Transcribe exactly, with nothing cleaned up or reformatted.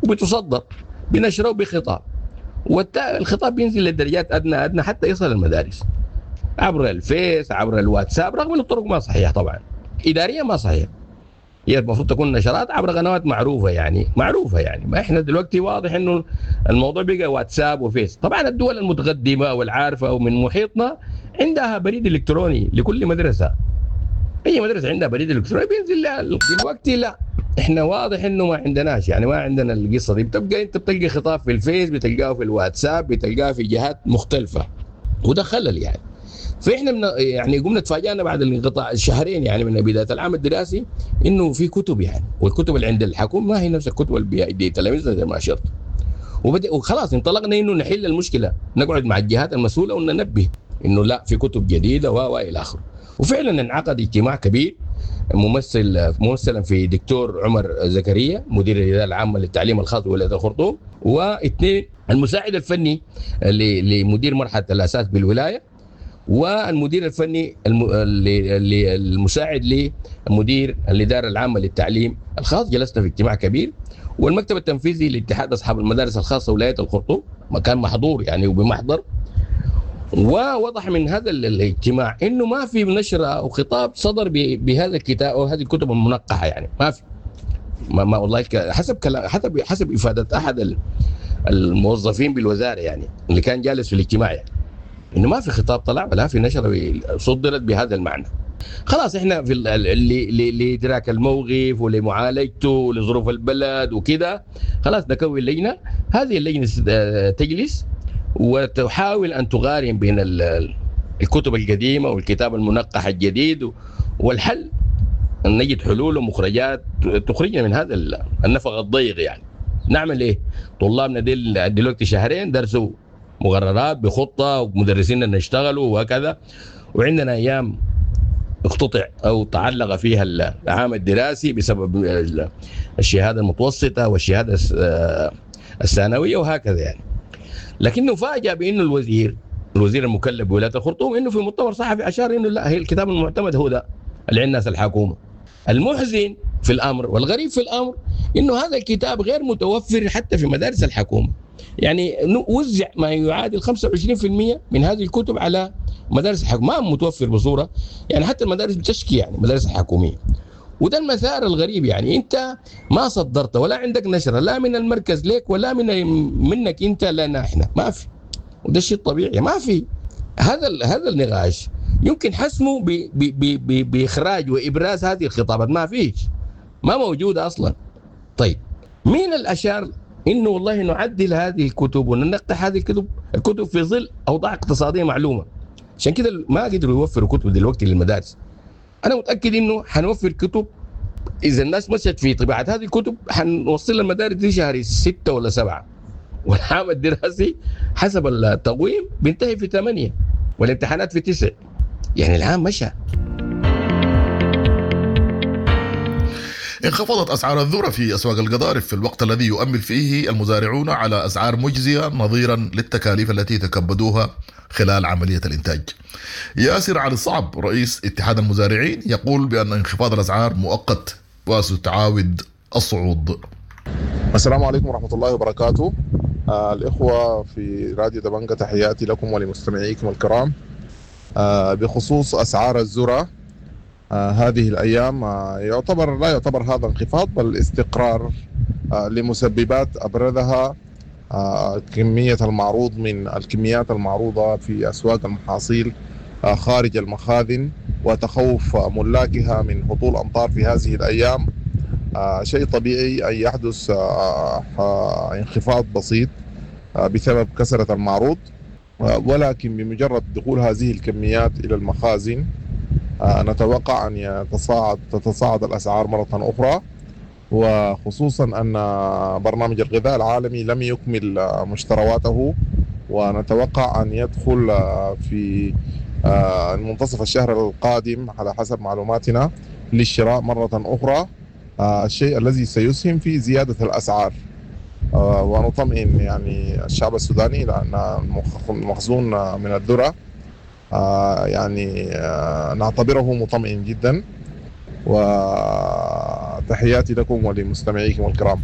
وبتصدر بنشره وبخطاب، والخطاب بينزل للدرجات ادنى ادنى حتى يصل المدارس عبر الفيس عبر الواتساب، رغم ان الطرق ما صحيحه طبعا، اداريا ما صحيحه. هي المفروض تكون نشرات عبر قنوات معروفة يعني، معروفة يعني. ما احنا دلوقتي واضح انه الموضوع بقى واتساب وفيس. طبعا الدول المتقدمة والعارفه ومن محيطنا عندها بريد الكتروني لكل مدرسه، اي مدرسه عندها بريد الكتروني بينزل لها. دلوقتي لا، احنا واضح انه ما عندناش يعني، ما عندنا القصة دي. بتبقى انت بتلقى خطاب في الفيس، بتلقاه في الواتساب، بتلقاه في جهات مختلفة، وده خلل يعني. فاحنا من يعني قمنا تفاجئنا بعد الانقطاع الشهرين يعني من بداية العام الدراسي انه في كتب يعني، والكتب اللي عند الحكومة ما هي نفس الكتب اللي بيدي تلاميذنا زي ما اشرت. وبدأ وخلاص انطلقنا انه نحل المشكلة، نقعد مع الجهات المسؤولة وننبه انه لا في كتب جديدة و الى اخره. وفعلا انعقد اجتماع كبير ممثل ممثلا في دكتور عمر زكريا مدير الادارة العامة للتعليم الخاص بولاية الخرطوم، واثنين المساعد الفني لمدير مرحلة الاساس بالولايه، والمدير الفني المساعد لمدير الادارة العامة للتعليم الخاص. جلسنا في اجتماع كبير، والمكتب التنفيذي لاتحاد اصحاب المدارس الخاصة ولاية الخرطوم مكان محضور يعني وبمحضر. ووضح من هذا الاجتماع انه ما في نشره او خطاب صدر بهذا الكتاب او هذه الكتب المنقحه يعني، ما في ما, ما والله حسب كلام حسب حسب افاده احد الموظفين بالوزارة يعني اللي كان جالس في الاجتماع يعني انه ما في خطاب طلع ولا في نشره صدرت بهذا المعنى. خلاص احنا في لادراك الموقف ولمعالجته ولظروف البلد وكده، خلاص نكون لجنة، هذه اللجنة تجلس وتحاول ان تقارن بين الكتب القديمة والكتاب المنقح الجديد، والحل ان نجد حلول ومخرجات تخرجنا من هذا النفق الضيق يعني. نعمل ايه؟ طلابنا ديل دلوقتي شهرين درسوا مقررات بخطه ومدرسيننا اشتغلوا وهكذا، وعندنا ايام اقتطع او تعلق فيها العام الدراسي بسبب الشهادة المتوسطة والشهادة الثانوية وهكذا يعني. لكنه فاجأ بانه الوزير الوزير المكلف بولاية الخرطوم انه في مؤتمر صحفي اشار انه لا، هي الكتاب المعتمد هو ده اللي عند الناس الحكومة. المحزن في الامر والغريب في الامر انه هذا الكتاب غير متوفر حتى في مدارس الحكومة. يعني وزع ما يعادل خمسة وعشرين بالمئة من هذه الكتب على مدارس الحكومة، ما متوفر بصورة يعني، حتى المدارس بتشكي يعني المدارس الحكومية. وده المسار الغريب يعني، انت ما صدرت ولا عندك نشره لا من المركز لك ولا من منك انت لنا احنا، ما في. وده الشيء الطبيعي، ما في. هذا هذا النقاش يمكن حسمه باخراج وابراز هذه الخطابات، ما فيش، ما موجودة اصلا. طيب مين الاشار انه والله نعدل هذه الكتب وننقح هذه الكتب الكتب في ظل اوضاع اقتصادية معلومة؟ عشان كده ما قدروا يوفروا كتب دلوقتي للمدارس. انا متاكد انه حنوفر كتب اذا الناس مشت في طباعه هذه الكتب، حنوصل المدارس دي شهر ستة ولا سبعة، والعام الدراسي حسب التقويم بينتهي في ثمانية والامتحانات في تسعة، يعني العام مشى. انخفضت أسعار الذرة في أسواق القضارف في الوقت الذي يؤمل فيه المزارعون على أسعار مجزية نظيرا للتكاليف التي تكبدوها خلال عملية الإنتاج. ياسر علي الصعب رئيس اتحاد المزارعين يقول بأن انخفاض الأسعار مؤقت وستعاود الصعود. السلام عليكم ورحمة الله وبركاته. آه الإخوة في راديو دبنجة، تحياتي لكم ولمستمعيكم الكرام. آه بخصوص أسعار الذرة آه هذه الأيام، آه يعتبر لا يعتبر هذا انخفاض بل استقرار، آه لمسببات أبرزها آه كمية المعروض من الكميات المعروضة في أسواق المحاصيل آه خارج المخازن، وتخوف ملاكها من هطول أمطار في هذه الأيام. آه شيء طبيعي أن يحدث آه آه انخفاض بسيط آه بسبب كثرة المعروض، آه ولكن بمجرد دخول هذه الكميات إلى المخازن آه نتوقع أن يتصاعد تتصاعد الأسعار مرة أخرى، وخصوصا أن برنامج الغذاء العالمي لم يكمل مشترواته، ونتوقع أن يدخل في منتصف الشهر القادم على حسب معلوماتنا للشراء مرة أخرى، الشيء الذي سيسهم في زيادة الأسعار. ونطمئن يعني الشعب السوداني لأن المخزون من الذرة يعني نعتبره مطمئن جدا. وتحياتي لكم ولمستمعيكم الكرام.